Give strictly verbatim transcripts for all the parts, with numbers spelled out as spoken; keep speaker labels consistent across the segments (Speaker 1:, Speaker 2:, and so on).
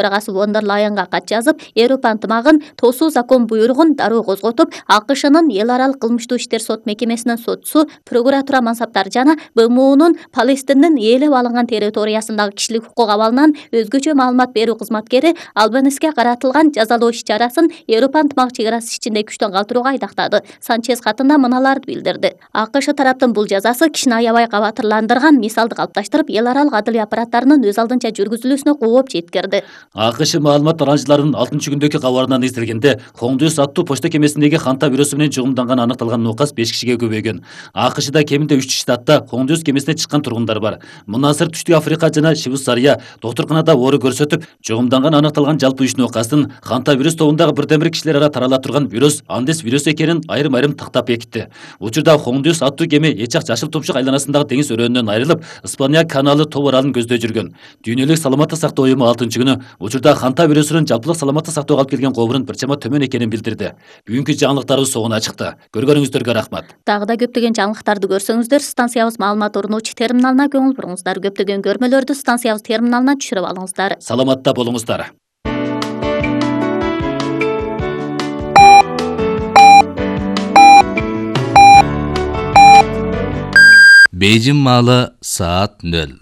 Speaker 1: төрагасы фон дер Лайенга кат жазып, Европа ынтымагын тосуу закон буйругун дароо козготуп, АКШнын эл аралык кылмыштуу иштер сот мекемесинин сотчусу, прокуратура мансаптары жана БМУнун Палестиндин ээлеп алынган территориясындагы кишилик укук абалынан өзгөчө маалымат берүү кызматкери Албаниске каратылган жазалоо иш-чарасын Европа ынтымак чек арасы ичинде күчтөн калтырууга айдактады. Санчез катында мыналарды билдирди. АКШ тараптын бул жазасы кишини аябай кабатырландырган мисалды калыпташтырып, эл аралык адылия аппараттарынын өз алдынча жүргүзүлүүсүнө кооп жеткирди.
Speaker 2: АКШ маалымат таратуучуларынын алтынчы күндөгү кабарынан эзделгенде, Коңдуюз аттуу почта кемесиндеги канта вирусу менен жугумданган аныкталган нукас беш кишиге көбөйгөн. АКШда кеминде үч штатта Коңдуюз кемесине чыккан тургундар бар. Мындан сырт Түштүк Африка жана Швейцария доктурканада оору көрсөтүп, жугумданган аныкталган жалпы үч нукастын канта вирус тобундагы бирден бир кишилер ара тарала турган вирус Андес вирусу экенин айрым-айрым тактап бекитти. Учурда Коңдуюз аттуу кеме Эчак Жашыл Тумшук айланасындагы деңиз өрөөнүнөн айрылып, Испания каналы тоо аралын көздөй жүргөн. Дүйнөлүк саламаттык сактоо уюму алтынчы күнү учурда канта вирусунун жалпылык саламаттык сактоого алып келген кобурун бир чама төмөн экенин билдирди. Бүгүнкү жаңылыктарыбыз согуна чыкты. Көргөнүңүздөргө рахмат.
Speaker 1: Дагы да көптөгөн жаңылыктарды көрсөңүздөр, станциябыз маалымат орночу терминалына көңүл буруңуздар. Көптөгөн көрмөлөрдү станциябыз терминалына түшүрүп алыңыздар.
Speaker 2: Саламатта болуңуздар.
Speaker 3: Бейжин маалы саат нөл.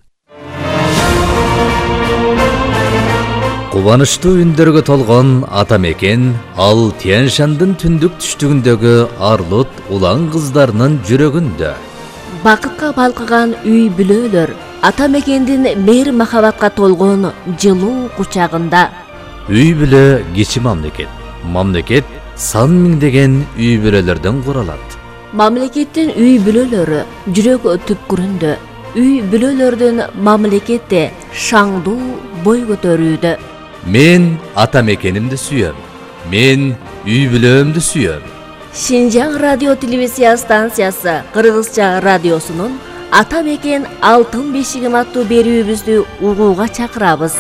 Speaker 3: Кубанычтуу үндөргө толгон ата мекен ал Тянь-Шандын түндүк түштүгүндөгү арлут улан кыздарынын жүрөгүндө.
Speaker 4: Бакытка балкыган үй бүлөлөр ата мекендин мейир махабатка толгон жылуу кучагында.
Speaker 3: Үй бүлө кичи мамлекет. Мамлекет сан миңдеген үй бүлөлөрдөн куралат.
Speaker 4: Мамлекеттин үй бүлөлөрү жүрөк түпкүрүндө. Үй бүлөлөрдүн мамлекетте шаңдуу бой көтөрүүдө.
Speaker 3: Мен ата мекенимди сүйөм. Мен үй бүлөмдү сүйөм.
Speaker 4: Шинжаң радио телевизия станциясы Кыргызча радиосунун Ата мекен алтын бешигим аттуу берүүбүздү угууга чакырабыз.